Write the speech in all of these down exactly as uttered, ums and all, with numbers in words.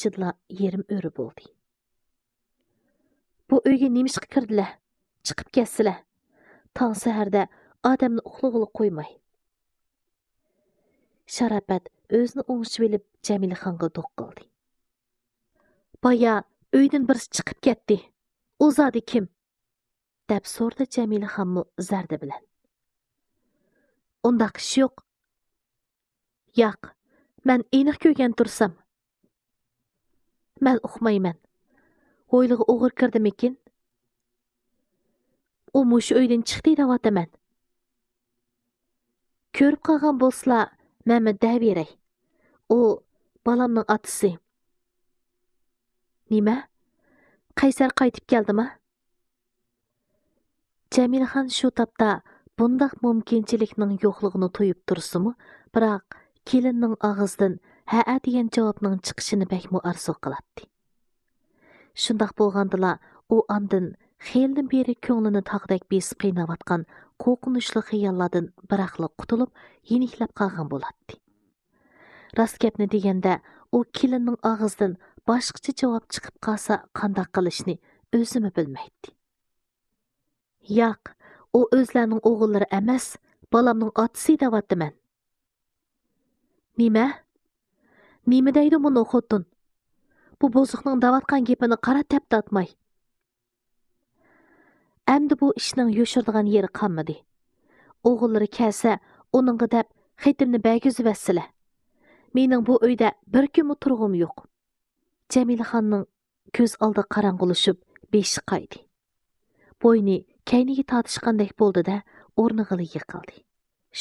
ئىچىدىلا يېرىم ئۆرە بولدى. بۇ ئۆيگە نېمىشقا كىردىلە؟ چىقىپ كەتسىلە. تاڭ سەھەردە ئادەمنى ئۇخلىغىلى قويماي. شاراپەت ئۆزىنى ئوڭشىۋېلىپ جەمىلىخانغا دوق قىلدى. بايا ئۆيدىن بىرسى چىقىپ كەتتى. ئۇ زادى كىم؟ دەپ سورىدى جەمىلىخانمۇ زەردە بىلەن. ئۇنداق ئىش يوق. ياق، مەن ئېنىق كۆرگەن تۇرسام. مەن ئۇقمايمەن. ھويلىغا ئوغرى كىردىمىكىن؟ ئۇ مۇشۇ ئۆيدىن چىقتى دەۋاتىمەن. كۆرۈپ قالغان بولسىلا، مەنمۇ دەۋېرەي. ئۇ بالامنىڭ ئاتىسى. نېمە؟ قەيسەر قايتىپ كەلدىما؟ جەمىلىخان شۇ تاپتا بۇنداق مۇمكىنچىلىكنىڭ يوقلۇقىنى تۇيۇپ تۇرسىمۇ، بىراق كېلىننىڭ ئاغزىدىن ھەئە دېگەن جاۋابنىڭ چىقىشىنى بەكمۇ ئارزۇ قىلاتتى. شۇنداق بولغاندىلا، ئۇ ئاندىن خېلىدىن بېرى كۆڭلىنى تاغدەك بېسىپ قىيناۋاتقان قورقۇنچلۇق خىياللاردىن بىراقلا قۇتۇلۇپ، يېنىكلەپ قالغان بولاتتى. راست گەپنى دېگەندە، ئۇ كېلىننىڭ ئاغزىدىن باشقىچە جاۋاب چىقىپ قالسا قانداق قىلىشنى ئۆزىمۇ بىلمەيتتى. ياق، ئۇ ئۆزلەرنىڭ ئوغۇللىرى ئەمەس، بالامنىڭ ئاتىسى دەۋاتىمەن. نېمە؟ نېمە دەيدۇ مۇنۇ خوتۇن؟ بۇ بۇزۇقنىڭ دەۋاتقان گېپىنى قارا تەپتە ئاتماي. ئەمدى بۇ ئىشنىڭ يوشۇرىدىغان يېرى قالمىدى. ئوغۇللىرى كەلسە، ئۇنىڭغا دەپ خېتىمنى بەرگۈزۈۋەتسىلە. مېنىڭ بۇ ئۆيدە بىر كۈنمۇ تۇرغۇم يوق. جەمىلىخاننىڭ كۆز ئالدى قاراڭغۇلىشىپ، بېشى قايدى. بوينى كەينىگە تارتىشقاندەك بولدى-دە، ئورنىغىلا يىقىلدى.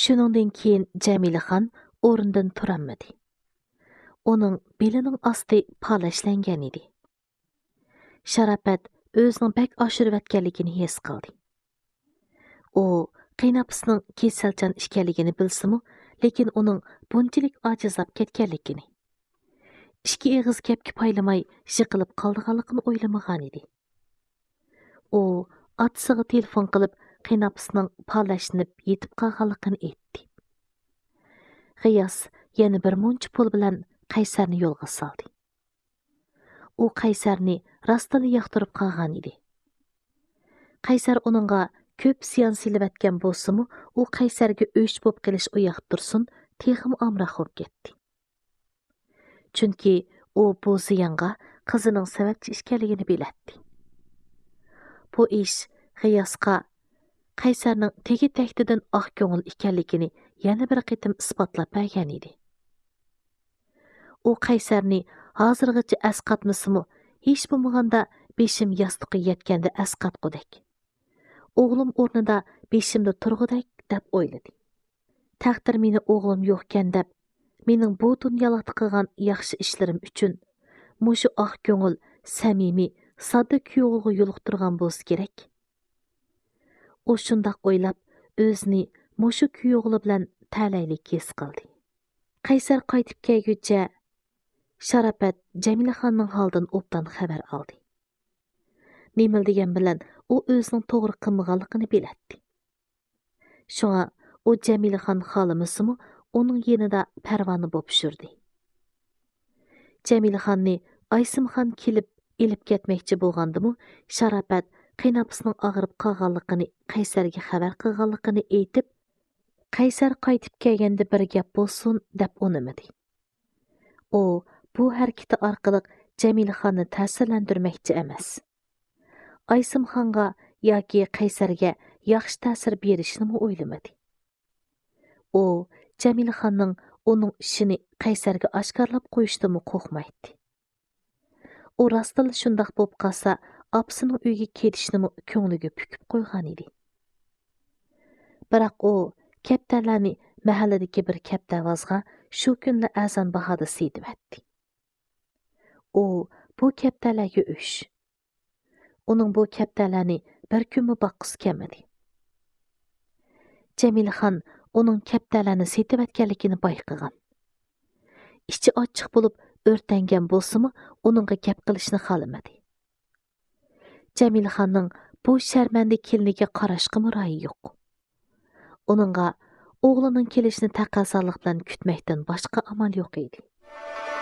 شۇنىڭدىن كېيىن جەمىلىخان ئورنىدىن تۇرالمىدى. ئۇنىڭ بېلىنىڭ ئاستى پالەچلەنگەن ئىدى. شاراپەت ئۆزىنىڭ بەك ئاشۇرۇۋەتكەنلىكىنى ھېس قىلدى. ئۇ قېيىنئاپىسىنىڭ كېسەلچان ئىكەنلىكىنى بىلسىمۇ، لېكىن ئۇنىڭ بۇنچىلىك ئاجىزلاپ كەتكەنلىكىنى، ئىككى ئېغىز گەپكە پايلىماي يىقىلىپ قالىدىغانلىقىنى ئويلىمىغانىدى. ئۇ ئاتىسىغا تېلېفون قىلىپ، قېيىنئاپىسىنىڭ پالەچلىنىپ يېتىپ قالغانلىقىنى ئېيتتى. غىياس يەنە بىر مۇنچە پۇل بىلەن قەيسەرنى يولغا سالدى. ئۇ قەيسەرنى راستلا ياقتۇرۇپ قالغان ئىدى. قەيسەر ئۇنىڭغا كۆپ زىيان سېلىۋەتكەن بولسىمۇ، ئۇ قەيسەرگە ئۆچ بولۇپ قېلىش ئۇياقتا تۇرسۇن، تېخىمۇ ئامراق بولۇپ كەتتى. چۈنكى ئۇ بۇ زىيانغا قىزىنىڭ سەۋەبچى ئىكەنلىكىنى بىلەتتى. بۇ ئىش غىياسقا قەيسەرنىڭ تېگى تەكتىدىن ئاق كۆڭۈل ئىكەنلىكىنى يەنە بىر قېتىم ئىسپاتلاپ بەرگەن ئىدى. ئۇ قەيسەرنى ھازىرغىچە ئەسقاتمىسىمۇ، ھېچ بولمىغاندا بېشىم ياستۇققا يەتكەندە ئەسقاتقۇدەك، ئوغلۇم ئورنىدا بېشىمدا تۇرغۇدەك دەپ ئويلىدى. تەقدىر مېنى ئوغلۇم يوقكەن دەپ، مېنىڭ بۇ دۇنيالىقتا قىلغان ياخشى ئىشلىرىم ئۈچۈن مۇشۇ ئاق كۆڭۈل، سەمىمىي، ساددا كۈيئوغۇلغا يولۇقتۇرغان بولسا كېرەك. ئۇ شۇنداق ئويلاپ، ئۆزىنى مۇشۇ كۈيئوغلى بىلەن تەلەيلىك ھېس قىلدى. قەيسەر قايتىپ كەلگۈچە شاراپەت جەمىلىخاننىڭ ھالىدىن ئوبدان خەۋەر ئالدى. نېمىلا دېگەن بىلەن ئۇ ئۆزىنىڭ توغرا قىلمىغانلىقىنى بىلەتتى. شۇڭا ئۇ جەمىلىخان خالىمىسىمۇ ئۇنىڭ يېنىدا پەرۋانە بوپ يۈردى. جەمىلىخاننى ئايسىمخان كېلىپ ئېلىپ كەتمەكچى بولغاندىمۇ، شاراپەت قېيىنئاپىسىنىڭ ئاغرىپ قالغانلىقىنى قەيسەرگە خەۋەر قىلغانلىقىنى ئېيتىپ، قەيسەر قايتىپ كەلگەندە بىر گەپ بولسۇن دەپ ئۇنىمىدى. ئۇ بۇ ھەرىكىتى ئارقىلىق جەمىلىخاننى تەسىرلەندۈرمەكچى ئەمەس. ئايسىمخانغا ياكى قەيسەرگە ياخشى تەسىر بېرىشنىمۇ ئويلىمىدى. ئۇ جەمىلىخاننىڭ ئۇنىڭ ئىشىنى قەيسەرگە ئاشكارىلاپ قويۇشتىنمۇ قورقمايتتى. ئۇ راستلا شۇنداق بولۇپ قالسا، ئاپىسىنىڭ ئۆيىگە كېتىشنىمۇ كۆڭلىگە پۈكۈپ قويغانىدى. بىراق ئۇ كەپتەرلەرنى مەھەللىدىكى بىر كەپتەرۋازغا شۇ كۈنلا ئەرزان باھادا سېتىۋەتتى. ئۇ بۇ كەپتەرلەرگە ئۆچ. ئۇنىڭ بۇ كەپتەرلەرنى بىر كۈنمۇ باققۇسى كەلمىدى. جەمىلىخان ئۇنىڭ كەپتەرلەرنى سېتىۋەتكەنلىكىنى بايقىغان. ئىچى ئاچچىق بولۇپ ئۆرتەنگەن بولسىمۇ، ئۇنىڭغا گەپ قىلىشنى خالىمىدى. جەمىلىخاننىڭ بۇ شەرمەندە كېلىنىگە قاراشقىمۇ رايى يوق. ئۇنىڭغا ئوغلىنىڭ كېلىشىنى تەقەززالىق بىلەن كۈتمەكتىن باشقا ئامال يوق ئىدى.